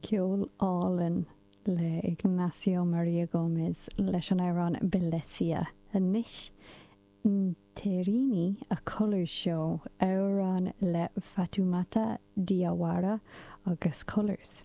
Ceol álainn le Ignacio Maria Gómez leis an amhrán Belesia. Anois, Nterini, A Colours Show, amhrán le Fatoumata Diawara agus Colours.